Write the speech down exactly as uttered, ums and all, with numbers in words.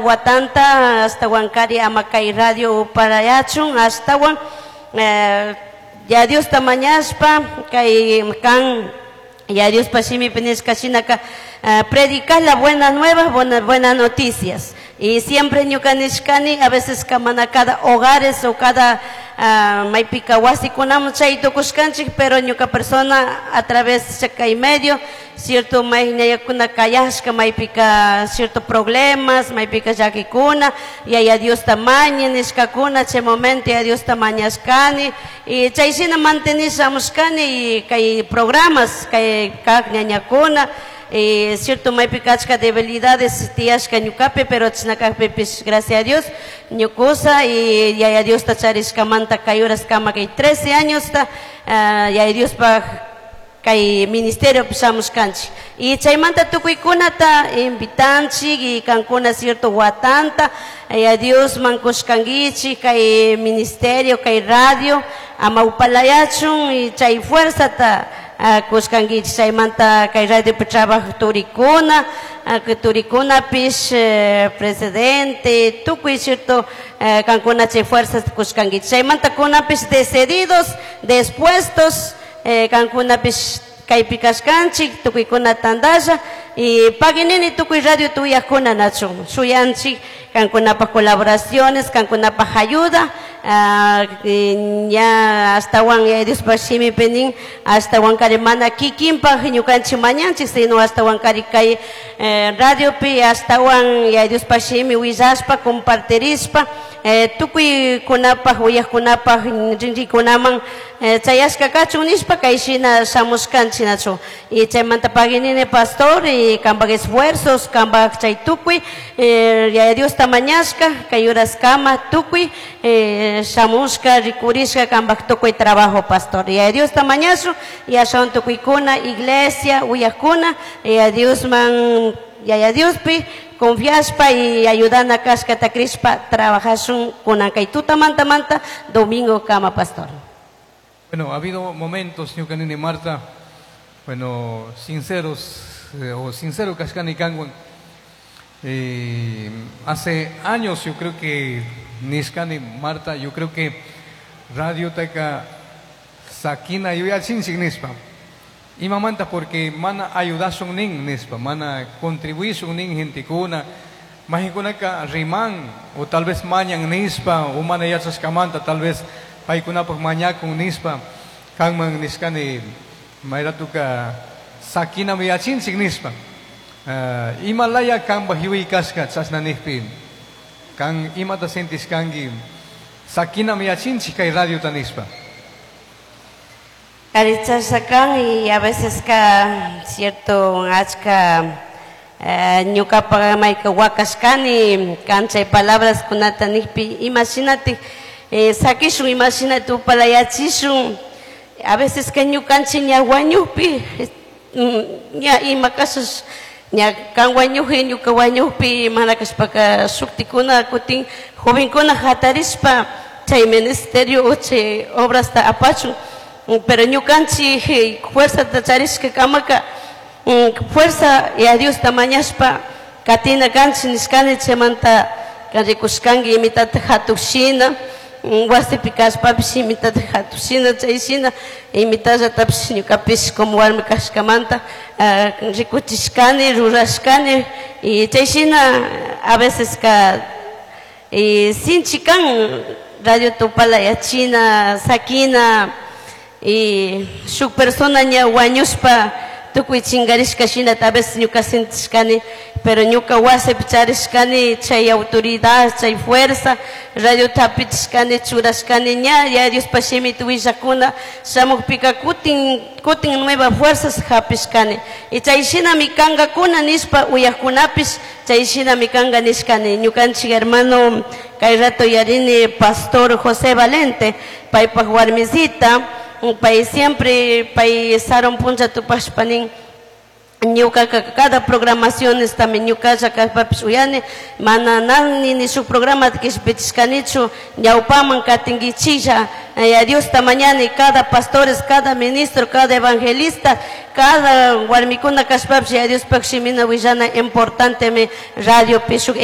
Watanta ashtawankari ama kay radio upalayachun ashtawan eh, Yaya Diosta mañashpa kay kan Yaya Diospa shimipi nishka shinaka eh, predicar la buena nueva, buena, buenas noticias. Y siempre ñuka nishkani, a veces mana cada hogares o cada uh, maypika wasikunaman chay tukushkanchik, pero ñuka persona a través kay medio, cierto may ñayakuna kayashka, maypika cierto problemas, maypika llakikuna, Yaya Diosta maña nishkakuna, chay momento Yaya Diosta mañashkani, y chay shina mantenishamushkani y kay programas, kay kak ñañakuna, y cierto maypika achka debilidades tiyashka ñukapi, pero chashna kakpipish gracias a Dios ñukusa y Yaya Diosta charishkamanta kay horaskama kay trece añosta uh, Yaya Diospaj kay ministerio shamushkanchik y chaymanta tukuykunata invitanchik y kankuna cierto watanta Yaya Diosman kushkankichik kay ministerio kay radio ama upalayachun y chay fuerzata uh, kushkankichik chaymanta kay radiopi trabajo turikuna uh, turikunapish eh, presidente tukuy cierto eh, kankuna chay fuerzas kushkankichik chaymanta kunapish decididos dispuestos eh, kankunapish kaypi kashkanchik tukuykuna tantalla y paginini tukuy radio tuyakuna nachun shuyanchik kankunapaj colaboraciones kankunapaj ayuda uh, ña ashtawan Yaya Diospaj shimipi nin ashtawan kari mana kikinpaj ñukanchik mañanchik sino ashtawan kari kay eh, radiopi ashtawan Yaya Diospaj shimi willashpa compartirishpa eh, tukuykunapaj uyajkunapaj rinrikunaman eh, chayashka kachun nishpa kay shina shamushkanchik nachu y chaymanta paginini pastor y kanpak esfuerzos kanpak chay tukuy eh, Yaya Diosta mañashka kay horaskama tukuy eh, shamushka rikurishka kanpak tukuy trabajo pastor Yaya Diosta mañashun y ashawan tukuykuna iglesia uyajkuna Yaya Diosman Yaya Diospi confiashpa y ayudana kashkata crishpa trabajashun kunan kay tutamanta manta domingo kama pastor. Bueno, ha habido momentos, ñukanini Marta, bueno, sinceros, eh, o sincero kashkani kanwan. Eh, hace años yo creo que nishkani Marta, yo creo que radiotaka sakina yuyachinchik nishpa. Imamanta porque mana ayudashun nin nishpa, mana contribuishun nin gentekuna, mayqinkunaka riman o tal vez mañan nishpa o mana yachashkamanta tal vez paykunapaj mañakun nishpa, kanman nishkani mayratuka sakinami yachinchik nishpa. Uh, imalaya kanpaj yuyay kashka chashna nijpi, kan imata sentishkanki sakinami yachinchik kay radiota nishpa. Karichashakan y a veces ka cierto achka eh, ñukapak mayka wakashkani kan chay palabras kunata nijpi imagínate eh, sakishun imagínate upalayachishun a veces que ñukanchik ña wañukpi ña ima kashash ña kan wañukpi ñuka wañukpi mana kashpaka shuktikuna kutin jovenkuna hatarishpa chay ministerio o chay obrasta apachun pero ñukanchik fuerzata charishka kamaka fuerza Yaya Diosta mañashpa katina kanchik nishkani chaymanta kan rikushkanki imitata hatushina wasipi kashpapish imitata hatushina chay shina imitallatapish ñukapish como warmi kashkamanta rikuchishkani rurashkani y chay shina a veces ka y sinchi kan radio tupala yachina sakina y shuk persona ña wañushpa tukuy chingarishka shina tal vez ñuka sentishkani pero ñuka wasipi charishkani chay autoridad chay fuerza radio tapichishkani churashkani ña Yaya Diospa shimita willakuna shamukpika kutin kutin nueva fuerzas hapishkani y chay shinami kankakuna nishpa uyajkunapish chay shinami kanka nishkani ñukanchik hermano kay rato yarini pastor José Valente paypaj warmisita pay siempre pay sarun punlla tupashpa nin ñukaka cada programaciones también ñukalla kashpapish uyani mana nani ni shuk programata kishpichishkanichu ñawpaman katinkichilla Yaya Diosta mañani cada pastores cada ministro cada evangelista cada warmikuna kashpapish Yaya Diospaj shimina willana importantemi radiopi shuk